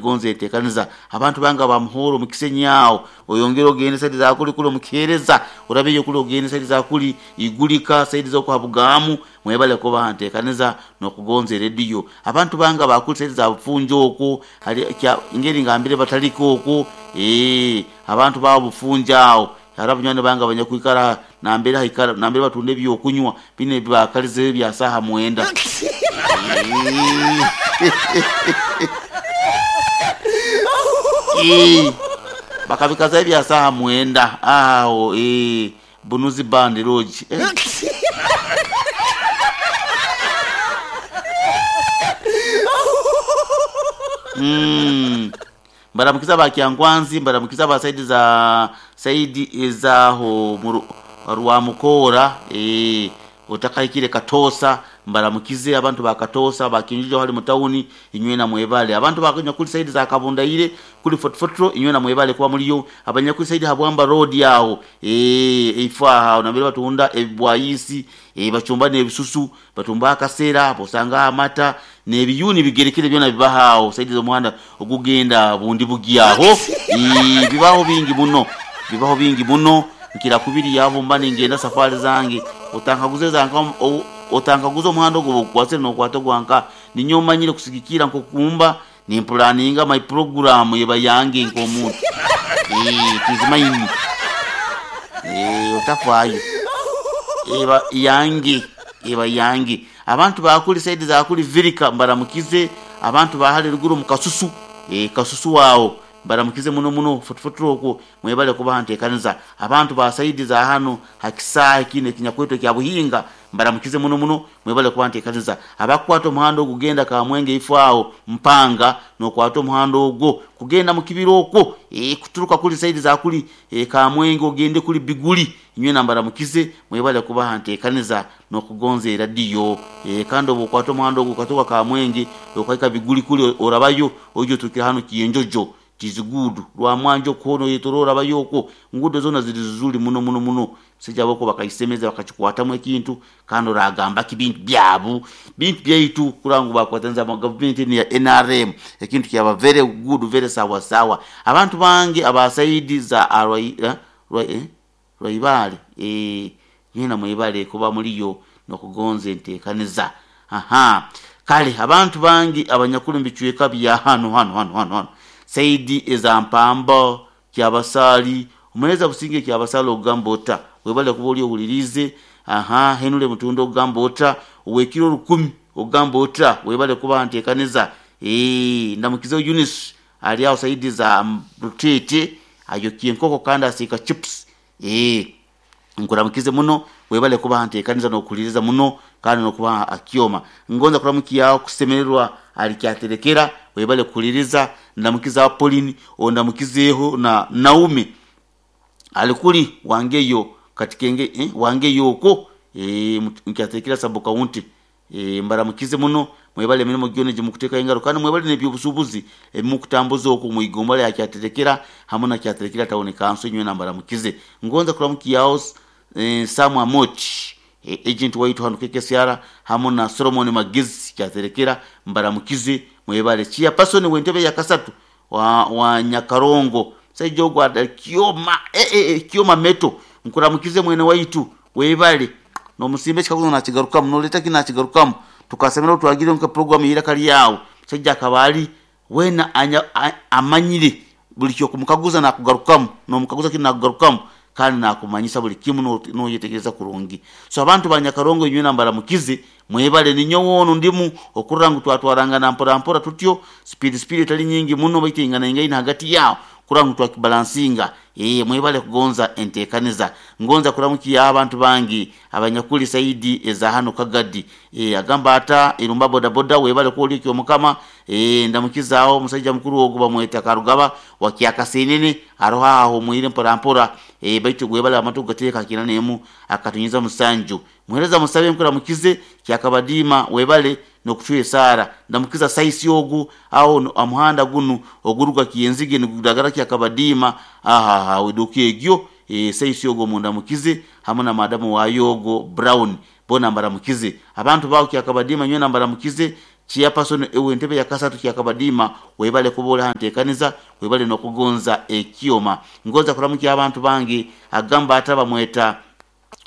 Gonza enteekaniza. Abantu bange aba Muhoro omu Kisenyi aho, oyongere ogende saidi za kuli kuli omu Kiheereza, orabeyo kuli ogende saidi za kuli Igulika, saidi z'oku ha Bugaamu, mwebale kuba ha nteekaniza n'okugonza erediyo. Abantu bange aba kuli saidi za Bufunjo okwo, hali kya ngeri ngambire Batalika okwo, eeh, abantu ba Bufunjo aho, hariho abanywani bange abanyakwikara nambere haikara nambere batunda eby'okunywa binu ebi baakalizeho ebya saaha mwenda. Eeh, bakabikazaho ebya saaha mwenda aho, eeh, Bunuzi Band Lodge. Eh. Mm. Mbaramukize aba Kyankwanzi, mbaramukize aba saidi za saidi ez'aho mu Rwamukoora, eeh, otakahikire Katoosa, mbaramukize abantu ba Katoosa, ba Kinjuju hali mu tawuni, inywena mwebale. Abantu ba nyakuli saidi za Kabundaire kuli Fort Portal, inywena mwebale kuba muliyo. Abanyakuli saidi ha Bwamba Road aho, eeh, eifo aho nambere batunda ebibwayiisi, eeh, bacumba n'ebisusu, Batumba akasera, bosangaho amata, n'ebiyuuni bigerekere byona bibaho agho saidi z'omuhanda ogugenda Bundibugyo agho. Ii, bibaho bingi muno, bibaho bingi muno. Nkira kubirya obu mba ningenda safari zange. Otankaguza eza nka, otankaguza omuhanda ogwo obu gukwasire n'okwata ogwa nka. Ninyowe manyire kusigikirra nk'oku mba nimpulaninga my program eba yange nk'omuntu. Ii, it is mine. Eeh, otafaayo. Eba yange, eba yange. Abantu ba kuri saidi za kuri Virika mbaramukize, abantu ba hare eruguru omu Kasusu, eeh, Kasusu agho mbaramukize muno muno, Fort Portal okwo mwebale kubaha nteekaniza. Abantu ba saidi za hanu ha kisaahe kinu ekinyakwetwa ekya Buhinga mbaramukize muno muno. Mwebale kuba ntekaniza. Abakukwata omuhanda ogugenda Kamwenge ifo agho Mpanga nokwata omuhanda ogwo kugenda mukibira okwo eeh kuturuka kuli saidi za kuli Kamwenge ogende kuli Biguli inywena mbaramukize mwebale kuba ntekaniza nokugonza eradiyo eeh kandi obwokwata omuhanda ogwo okaturuka Kamwenge okahika Biguli kuli orabayo oija oturukire hanu Kyenjojo It is good. Rwamwanja okwo hoona oyetoroora orabayo okwo enguudo zoona ziri zizuri muno muno muno. Abasaija abo okwo bakaisemeza bakakikwatamu ekintu kandi oragamba ki bintu byabu, bintu byaitu kurora ngu bakwataniza na gavumenti enu eya nrm ekintu kyaba very good very sawa sawa. Abantu bange aba saidi za Rwaibaale eeh mwena mwebale kuba muliyo nokugonza entekaniza. Ahaa kale abantu bange abanyakuli mubicweka bya hano hano hano hano hano saidi eza Mpamba, Kyabasaali, Omuhereza Businge Kyabasaali ogamba ota? Webale kuba oli owuliriize. Ahaa Henry Mutunda ogamba ota? Owekiro olukumi ogamba ota? Webale kuba ntekaniza. Eeh ndamukizeho Eunice ali agho saidi za Ruteete ayokya enkoko kandi asiika chips. Eeh nkuramukize muno webale kuba ntekaniza nokuhuliriza muno kandi nokuba akyoma. Ngonza kuramukiaho Kusemererwa ali Kyaterekera webale kuhuliriza. Ndamukiza Pauline ondamukizeeho na Naume ali kuli Wangeyo Katikenge eh Wangeyo okwo eeh Kyaterekera sub county. Eeh mbaramukize muno, mwebale emirimo gyona egi mukuteekaho engaro kandi mwebale n'eby'obusuubuzi ebi mukutambuza okwo omu igomba lya Kyaterekera hamu na Kyaterekera Town Council inywena mbaramukize. Ngonza kuramukiaho Sam Amoch agent waitu hanu KKCR hamu na Solomon Magezi Kyaterekera mbaramukize mwebale. Chairperson w'entebe ya kasatu wa Nyakarongo omusaija ogu Kyoma eeh Kyoma Meto nkuramukize mwene waitu webale. Nomusimba ekikaguzo nakigarukamu, noleta ki nakigarukamu. Tukasemera obu twagiire nka puroguramu y'eiraka lyawe, omusaija akaba ali weena amanyire buli ky'okumukaguza nakugarukamu, nomukaguza kinu nakugarukamu kandi nakumanyisa buli kimu noyetegereza kurungi. So abantu ba Nyakarongo inywena mbaramukize, mwebale. Ninyowe onu ndimu okurora ngu twatwarangana mpora mpora tutyo, sipiidi sipiidi etali nyingi muno baitu einganaingaine hagati yaho kurora ngu twakibalansinga. Eeh mwebale kugonza entekaniza. Ngonza kuramukia abantu bange abanyakuli saidi eza hanu Kagadi. Eeh agamba ata Irumba bodaboda webale kuba oli ekyomukama. Eeh ndamukizaaho omusaija mukuru ogu bamweta Karugaba wa Kyakasenene aroho aho ahumwire mpora mpora. Eeh baitu webale amatu kugateeka ha kina nemu akatunyinza musanju. Muhereza musabe nkuramukize Kyakabadiima webale nokucwa esaara. Ndamukiza Saisi ogu aho ha muhanda gunu oguruga Kyenzige nigudagara Kyakabadiima aho aho eduuka egyo. Eeh Saisi ogu omundamukize hamu na maadamu waayo ogwo Brown boona mbaramukize. Abantu baaho Kyakabadiima nywena mbaramukize. Chairperson ow'entebe ya kasatu Kyakabadiima webale kuba oli ha nteekaniza webale n'okugonza ekyoma. Ngonza kuramukya abantu bange agamba ata bamweta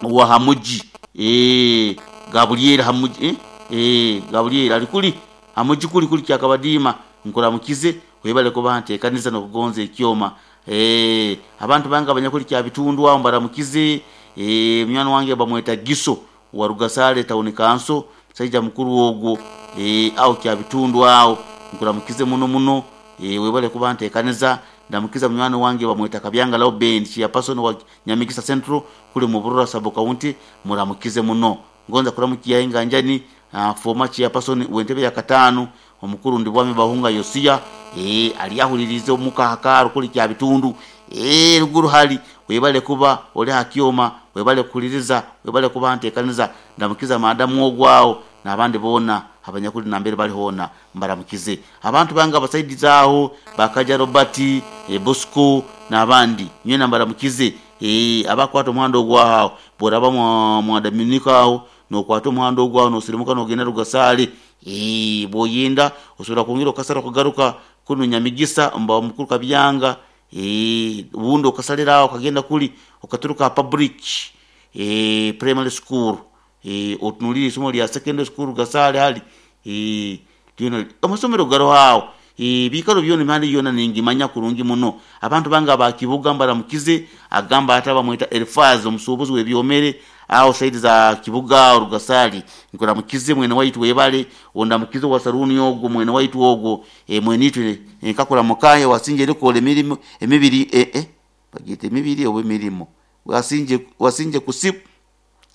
owa Hamugi eeh Gabulyeri Hamugi eh eeh Gabulyeri ali kuli Hamugi kuli kuli Kyakabadiima nkuramukize webale kuba ha nteekaniza n'okugonza ekyoma. Eeh abantu bange abanyakuli Kyabitundu aho mbaramukize eeh munywani wange bamweta Giso owa Rugasaale Town Council musaija mukuru ogwo eeh aho Kyabitundu aho nkuramukize muno muno eeh webale kuba ntekaniza. Ndamukiza munywani wange bamweta Kabyanga Lauben Chairperson wa Nyamigisa Central kuli mu Burora Sub County muramukize muno. Ngonza kuramukia Enganjani former Chairperson w'entebe ya kataanu omukuru Ndibwami Bahunga Yosia eeh ali ahuliriize omuka aha kaaro kuli Kyabitundu eeh ruguru hali webale kuba oli aha kyoma webale kuhuliriza webale kuba ntekaniza. Ndamukiza maadamu ogwo agho n'abandi boona abanyakuli nambere bali hoona mbaramukize. Abantu bange abasaidize agho ba Kaja Robert, Bosco n'abandi nywena mbaramukize. Abakwata omuhanda ogwo agho bw'oraba mwa Dominika agho n'okwata omuhanda ogwo agho n'osirimuka n'ogenda Rugasaale. Bw'oyenda osobola kwongera okasala okagaruka kunu Nyamigisa omu Mukuru Kabyanga, obundi okasalira agho okagenda kuli okaturuka aha Public Primary School otunulire eisomero lya Secondary School Gasaale hali lyona amasomero garoho agho ebiikaro byona emihanda yoona ningimanya kurungi muno. Abantu bange aba Kibuga mbaramukize, agamba ati abamweta Elifaazi omusuubuzi w'ebyomere agho saidi za Kibuga agho Rugasaali nkuramukize mwene waitu webale, ondamukize owa saluuni ogwo mwene waitu ogwo mwene itwe nkakuramuka wasinja erikola emirimo emibiri bagyeta emibiri oba emirimo wasinje kusibu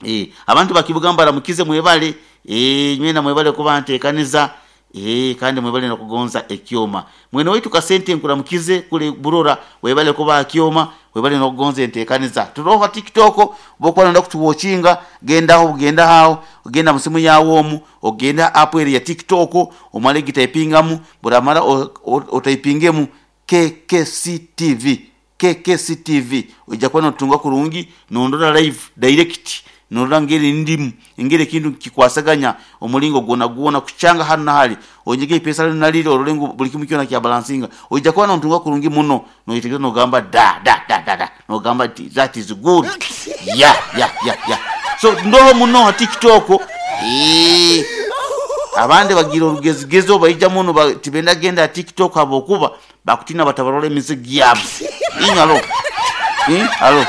Eeh abantu ba Kibuga mbaramukize mwebale eeh nywena mwebale kuba ntekaniza eeh kandi mwebale nokugonza ekyoma. Mwene waitu Kasente nkuramukize kule Burora webale kuba aha kyoma webale nokugonza entekaniza. Turoho ha TikTok bwokuba noyenda kutuwochinga gendaho bugenda agho genda musimu yawe omu ogende ha app ere eya TikTok omale gitaipingamu bworamara otaipingemu KKCTV KKCTV oija kuba notunga kurungi nondora live direct norora ngeri ndimu engeri ekintu nikikwasaganya omuringo gwonagwona kukyanga hanu nahari onyige eipesa linu nariri orore ngu buri kimu kyona kyabalansinga oija kuba notunga kurungi muno noyetegereza nogamba da da da da da nogamba nti that is good ya ya ya ya so ndoho muno ha tiktok eeh abandi bagira orugezigezo baija muno tibenda genda ha tiktok habwokuba Bakutiina batabarora emize gyabu. Inywe alo, ii, alo.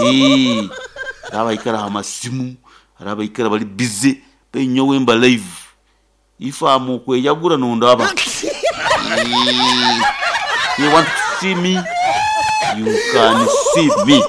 Ii, hariho abaikara aha masimu, hariho abaikara bari busy, beitu nyowe mba live. If am okweyagura nondaba. Ii, if you want to see me, you can see me.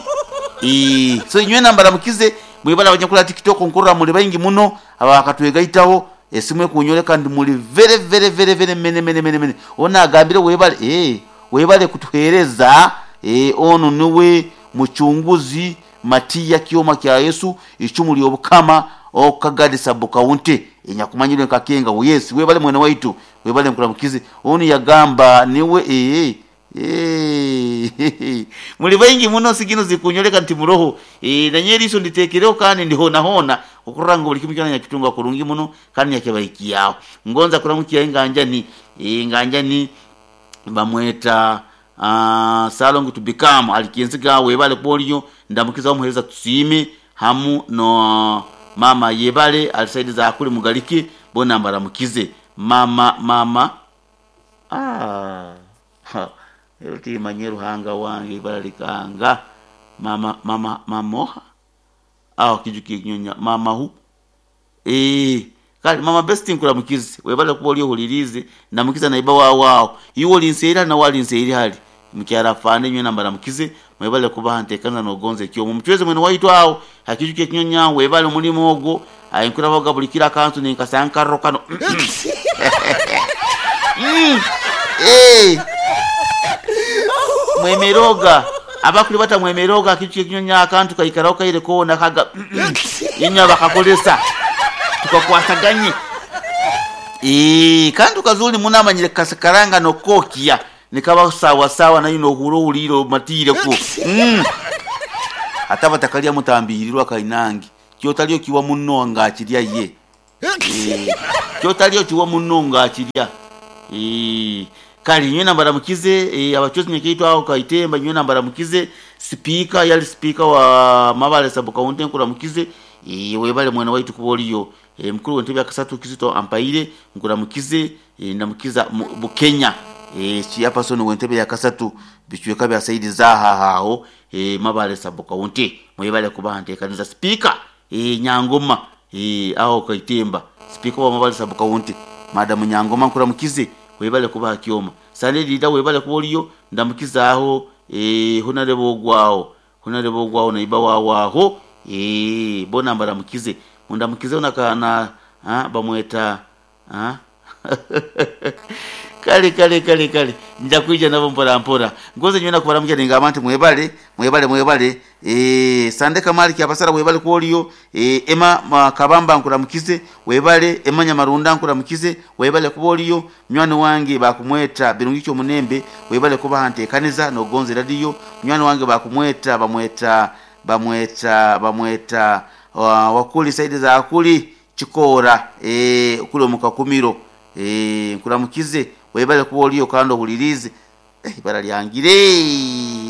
Ii, so inywena mbaramukize, mwebale abanyakuri aha TikTok nkurora muri baingi muno abakatwegaitaho. Esimu ekunyoreka nti muli very very very very many many many many ono agambire webale eeh webale kutuhereza eeh ono niwe muchunguzi Matia Kyoma kya Yesu icumu lyobukama Okagadi sub county enyakumanyirwe nka Kenga yes webale mwene waitu webale nkuramukize onu yagamba niwe eeh Eeh muli baingi muno sigino zirikunyoreka nti muroho eeh nanye eriiso nditeekereho kandi ndi hoonahona okurora ngu buli kimu kyona nyakitunga kurungi muno kandi nyakibahikiaho. Ngonza kuramukya enganjani, enganjani bamweta Ssalongo to become ali Kyenziga webale kuba oriyo, ndamukizaho omuhereza Tusiime hamu no maama Yebale ali saidi za kuri Mugalike bona mbaramukize. Maama maama aah. Ha, ero timanye Ruhanga wange ibara likanga mama mama mama oha? Aho kijukiire kinyonya mama who? Eeh kale mama Best nkuramukize webale kuba ori ohuririize ndamukiza naiba waawe aho iwe ori nseeri hari nawe ari nseeri hari mukyara afande nywena mbaramukize mwebale kuba aha nteekaniza nogonza ekyoma omucwezi mwene waitu aho ha kijukiire kinyonya webale omurimo ogwo aye nkurabaga buri kiro akantu ninkasanga nkarro kano Mwemerooga abakuri bata mwemerooga akintu ky'ekinyonyi akantu kaikaraho kaire koona kaga inywe abakakoresa tukakwasaganye kandi kazuri muno amanyire kukakaranga n'okukokya nikaba sawa sawa nayo nohurra ohuliire omatiireku hati abatakalya mutambihirirwe akainange. Kyotali okiwa munno nga akirya ye. Kyotali okiwa munno nga akirya. Kale nywena mbaramukize abachwezi nyakaitwe aho Kaitemba nywena mbaramukize. Sipiika yali sipiika wa Mabale sub county nkuramukize. Webale mwena waitu kuba oliyo. Mukuru w'entebe ya kasatu Kizito Ampaire nkuramukize. Ndamukiza Bukenya. Chairperson w'entebe ya kasatu bicweka bya saidi zaha aho Mabale sub county. Mwebale kuba nteekaniza sipiika Nyangoma aho Kaitemba. Sipiika wa Mabale sub county Madam Nyangoma nkuramukize. Webale kuba kyoma. Sande lida webale kuba oliyo ndamukiza aho honarebo ogwao. Honarebo ogwao naiba wawaho bona mbaramukize. Mundamukize onakana bamweta kale kale kale kale nja kuija nabo mpora mpora. Ngoze nywena kubaramukia ningamba nti mwebale mwebale mwebale. Sande Kamali kyabasara webale kuoliyo. Ema Kabamba nkuramukize webale. Ema Nyamarunda nkuramukize webale kuoliyo. Mnywani wange bakumweta Birungi Munembe webale kuba ntekaniza nogonze radio. Mnywani wange bakumweta bamweta bamweta bamweta wakuli saidi za akuli chikora kule mukakumiro. Nkuramukize webale kuba oliyo kandi ohulirize. Ibara lyangire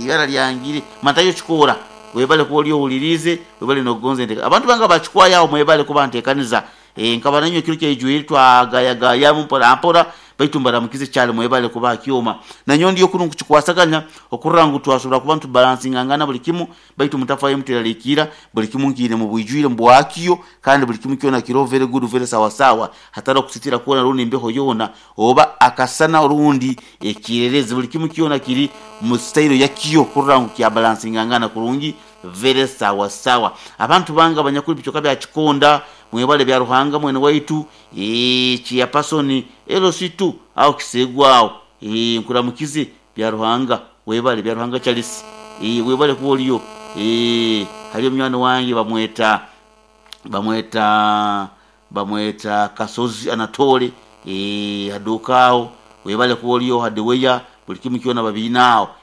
ibara lyangire matayo chikora webale kuba oliyo ohulirize webale nogonze ndeka abantu banga bachikwaya mwebale kuba ntekaniza. Nkaba nanyo kiro kyejwiri twagayagaya mpora mpora baitu mbaramukize cyane mwebale kuba kyoma nanyo ndiyo kunu kuchikwasaganya okurra ngu twasobora kuba ntu balancing angana buli kimu baitu mutafaye muteralikira buli kimu nkire mu bwijwire mbwakiyo kandi buli kimu kyona kiro very good very sawa sawa hatari kusitira kuona rundi mbeho yona oba akasana rundi ekirerezi buli kimu kyona kiri mu style yakiyo kurra ngu kya balancing angana kurungi very sawa sawa. Abantu banga abanyakuri bichoka bya Chikonda mwebale bya Ruhanga mwene waitu chairperson LC2 au kisegwao nkuramukize bya Ruhanga webale bya Ruhanga Charles webale kuoliyo. Hali mnywana wange bamweta bamweta bamweta Kasozi Anatole hadukao webale kuoliyo hadiweya buli kimu kyona babinao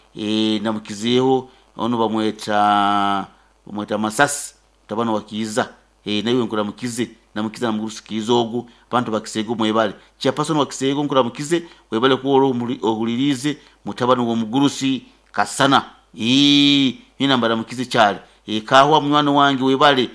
namukizeho ono bamweta bamweta Masasi tabano wakiza nawe nkuramukize namukiza namugurusi kizogu abantu bakisego mwebale chairperson wakisego nkuramukize webale kuoro ohulirize mutabano wo mugurusi kasana nina mbaramukize cyane kahwa mwana wange webale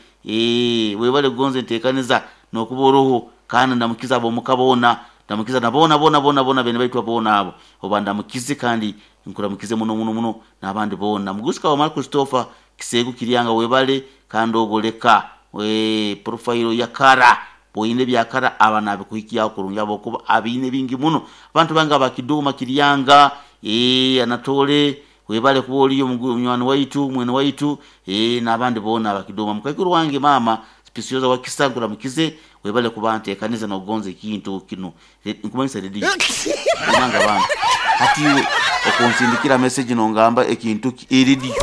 webale gonze ntekaniza nokuboroho kandi ndamukiza abo mukabona ndamukiza nabona bona bona bona bene baitwa bona abo oba ndamukize kandi nkuramukize muno muno muno nabandi bona mugurusi wa Mark Christopher kisego kiryanga webale kandi ogoleka we profile ya kara boyine byakara abana bikuhikia kurungi abo kuba abine bingi muno abantu banga bakiduma kiryanga anatole webale kuoliyo munywani waitu mwene waitu nabandi bona bakiduma mukakuru wange mama spisioza wakisangura mukize webale kubante kanisa nogonze kintu kino nkumanyisa redio manga bana hati okonsindikira message nongamba ekintu eridio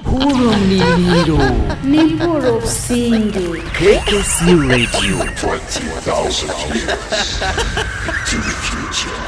Hurumliro Nimpuro Singi KKC Radio 20,000 years into the future.